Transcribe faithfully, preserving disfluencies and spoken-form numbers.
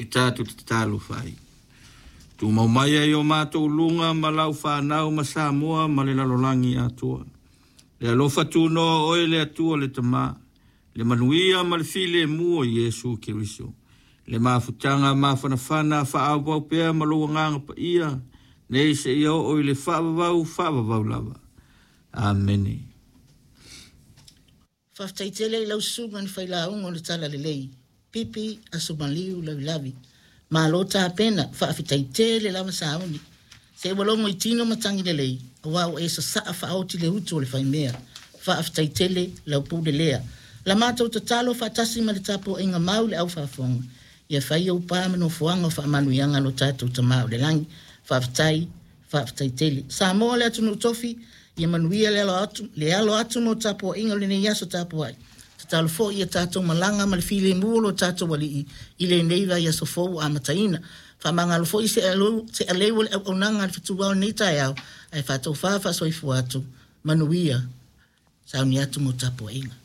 I tatou tatalofa ai. Tumau mai ai o matou luga ma lau fanau ma Samoa ma le lalolagi atoa. Le alofa tunoa o oe le Atua le Tama, le manuia ma le filemu o Iesu Keriso. Le mafutaga mafanafana faaauau pea ma lou agaga paia, nei seia oo i le faavavau faavavau lava. Amene. Faafetai tele i lau susuga i le failauga o le Talalelei, Pipi Asomaliu Lavilavi. Malo tapena, faafetai tele lava sauni. Se ua logo i tino matagi lelei, aua ua e sasaa faaoti le utu o le faimea. Faafetai tele lau pule lea. La matou tatalo faatasi ma le tapuaiga mau le au faafofoga, ia fai ou pa ma nofoaga o faamanuiaga a lo tatou Tama o le lagi. Faafetai, faafetai tele. Samoa le atunuu tofi, ia manuia le alo atu, le alo atu mo tapuaiga o lenei aso tapuai. Tatalo foi ia tatou malaga ma le filemu o lo tatou Alii i lenei vaiaso fou ua amataina. Faamagalo foi se aleu, se aleu o le auaunaga a le fetuao i lenei taeao, ae faatofa faasoifua atu, manuia, sauni atu mo tapuaiga.